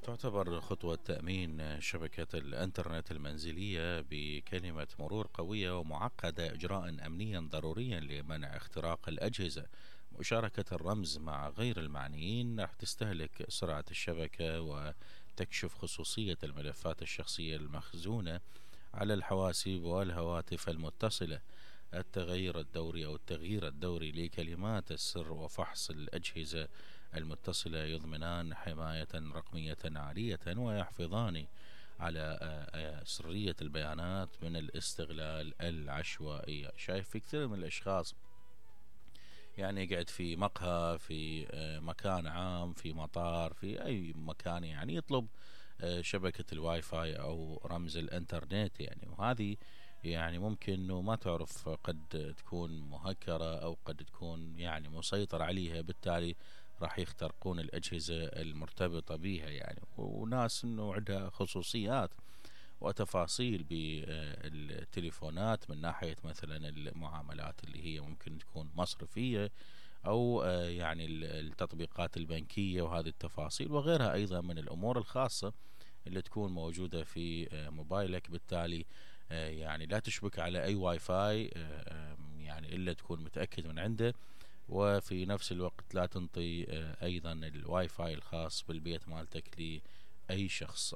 تعتبر خطوة تأمين شبكة الإنترنت المنزلية بكلمة مرور قوية ومعقدة إجراء أمنيا ضروريا لمنع اختراق الأجهزة. مشاركة الرمز مع غير المعنيين راح تستهلك سرعة الشبكة وتكشف خصوصية الملفات الشخصية المخزونة على الحواسيب والهواتف المتصلة. التغير الدوري أو التغيير الدوري لكلمات السر وفحص الأجهزة المتصلة يضمنان حماية رقمية عالية ويحفظان على سرية البيانات من الاستغلال العشوائي. شايف في كثير من الأشخاص يعني يقعد في مقهى، في مكان عام، في مطار، في أي مكان، يعني يطلب شبكة الواي فاي أو رمز الإنترنت يعني. وهذه يعني ممكن انه ما تعرف، قد تكون مهكرة او قد تكون يعني مسيطر عليها، بالتالي راح يخترقون الاجهزة المرتبطة بها يعني. وناس انه عندها خصوصيات وتفاصيل بالتليفونات من ناحية مثلا المعاملات اللي هي ممكن تكون مصرفية او يعني التطبيقات البنكية وهذه التفاصيل وغيرها ايضا من الامور الخاصة اللي تكون موجودة في موبايلك. بالتالي يعني لا تشبك على اي واي فاي يعني الا تكون متأكد من عنده، وفي نفس الوقت لا تنطي ايضا الواي فاي الخاص بالبيت مالتك لاي شخص.